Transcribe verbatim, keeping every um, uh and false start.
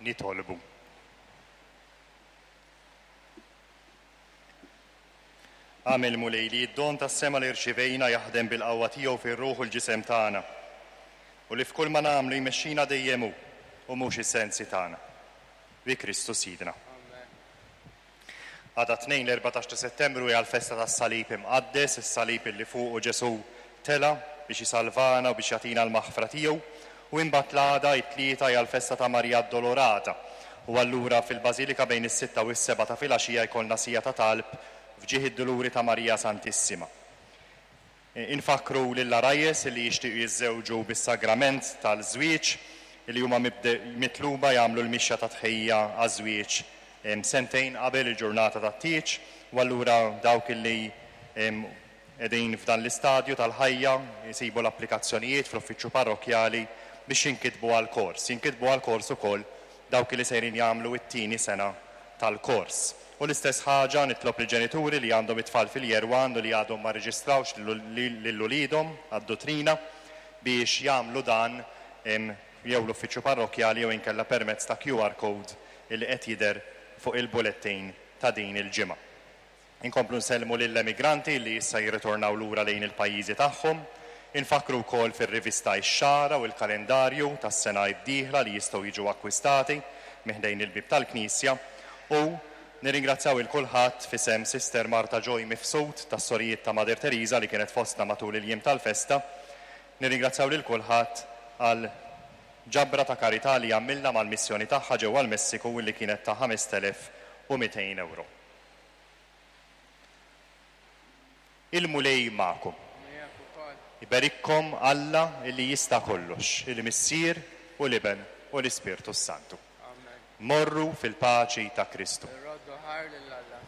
Nitolbu. Agħmel, Mulej, li d-don tas-sema li rċivejna jaħdem bil-qawwa tiegħu fir-ruħ u l-ġisem tagħna, u li f'kull ma nagħmlu jmexxina dejjem hu u mhux is-sensi tagħna. Bi Kristu Sidna. Għada tnejn l-erbatax ta' Settembru hija l-festa tas-Salib Imqaddes, is-salib illi fuqu Ġesù tela' biex isalvana u biex jagħtina l-maħfra tiegħu, u imbagħad l-għada it-tlieta hija l-festa ta' Marija Addolorata. U allura fil-Bażilika bejn is-sitta u s-seba' ta' filgħaxija jkollna sija ta' talb f'ġieħ id-duluri ta' Marija Santissima. Infakru lill-għarajjes li jixtiequ jiżżewġu bis-sagrament tal-żwieġ li huma mitluba jagħmlu l-mixja ta' tħejja għaż-żwieġ sentejn qabel il-ġurnata tat-tieġ, u allura dawk li qegħdin f'dan l-istadju tal-ħajja jsibu l-applikazzjonijiet fl-uffiċċju parrokkjali biex jinkitbu għall-kors. Jinkitbu għall-kors ukoll dawk li sejrin jagħmlu t-tieni sena tal-kors. U l-istess ħaġa nitlob lill-ġenituri li għandhom it-tfal fil-year one u li għadhom ma rreġistrawx lil uliedhom għad-dottrina biex jagħmlu dan jew l-uffiċċju parrokkjali jew inkella permezz ta' Q R code li qed jidher fuq il-bulletin ta' din il-ġimgħa. Inkomplu nsellmu lill-emigranti li issa jirritornaw lura lejn il-pajjiżi tagħhom. Infakru wkoll fir-rivista Ix-Xagħra u l-kalendarju tas-sena d-dieħla li jistgħu jiġu akkwistati miħdejn il-bib tal-Knisja, u nirringrazzjaw il kulħadd f'isem Sister Marta Joy Mifsud tas-Sorijiet ta' Mother Teresa li kienet fostna matul il-jiem tal-festa. Nirringrazzjaw lil kulħadd għal ġabra ta' karità li għamilna mal-missjoni tagħha ġewwa l-Messiku li kienet ta' ħamest elef u mitejn euro. Il-Mulej magħkom. Iberikkom Alla illi jista' kollox, il-Missier u l-Iben u l-Ispirtu s-Santu. Morru fil-paċi ta' Kristu. Irroddu ħajr lil Alla.